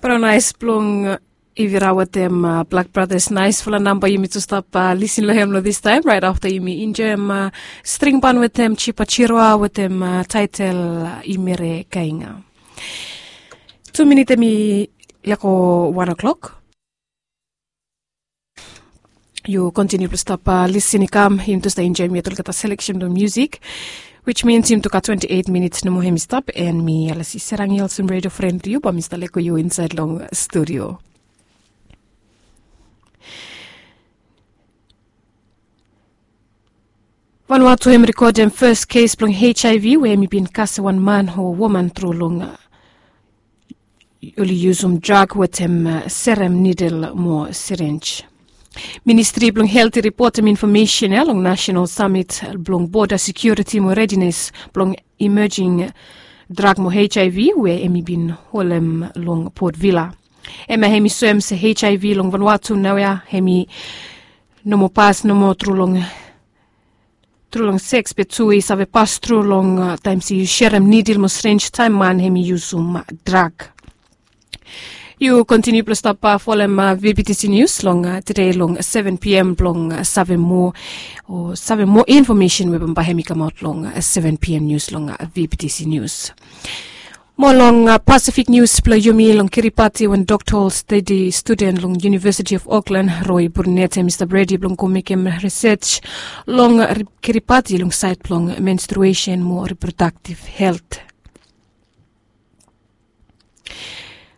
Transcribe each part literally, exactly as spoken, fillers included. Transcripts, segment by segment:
Bro nais blong Ivira wetem Black Brothers, naisfala namba yumi tu stap lisin long hem long distaim, rait afta yumi enjoim stringban wetem Chipa Chirwa wetem taitel Imere Kainga. Tu minit hem i leko wan o'clock. Yu kontiniu blong stap lisin i kam, yumi tu stap enjoim yet olgeta seleksen blong musik, which means yumi tu gat twenti eit minits nomo hem i stap, and mi Alasi Serang i olsem redio fren blong yu, bae mi stap leko yu insaed long studio. Vanuatu hem i rekodem fes kes blong HIV we hem i bin kasem wan man o woman tru long oli yusum drag wetem serem nidel mo sirinj. Ministri blong helt i ripotem infomesen ya long nasenal samit blong boda sekiuriti mo redines blong imejing drag mo HIV we hem i bin holem long Port Vila. Hemia hem i soem se HIV long Vanuatu naoia hem i no moa pas nomo tru long tru long seks, be tu i save pas tru long taem se yu serem nidel mo sirinj taem man hem i yusum drag. Yu kontiniu blong stap folem VBTC Nius long tede long seven pm blong save moa o save moa infomesen we bambae hem i kamaot long seven pm nius long VBTC Nius. Mo long Pasifik nius blong yumi, long Kiribati, wan dokta stedi studen long University of Auckland, Roy Burnett, hem i stap redi blong go mekem risej long Kiribati long saed blong menstruesen mo riprodaktiv helt.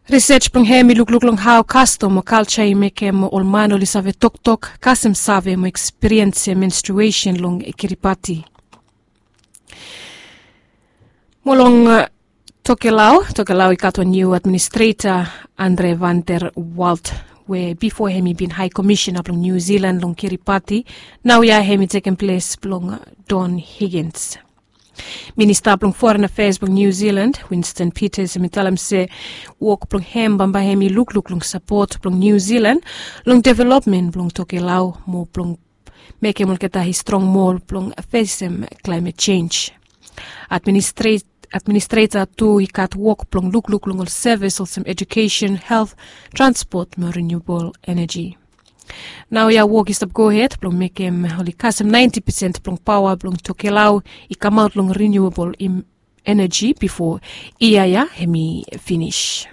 Risej blong hem i lukluk long hao kastom o kalja i mekem ol man oli save toktok, kasem save mo ekspiriense menstruesen long Kiribati. Mo long Tokelau, Tokelau i gat wan niu administreta, Andre van der Walt, we bifo hem i bin hae komisena blong Niu Zilan long Kiribati, naoia hem i tekem ples blong Don Higgins. Minista blong Foren Afeas blong Niu Zilan, Winston Peters, hem i talem se wok blong hem bambae hem i lukluk long sapot blong Niu Zilan long developmen blong Tokelau mo blong mekem olgeta i strong moa blong fesem klaemet jenj. Administreta tu i gat wok blong lukluk long ol sevis olsem ejukesen, helt, transpot mo riniuabol eneji. Naoia wok i stap gohed blong mekem oli kasem naenti pesen blong paoa blong Tokelau i kamaot long riniuabol eneji bifo yia ya hem i finis.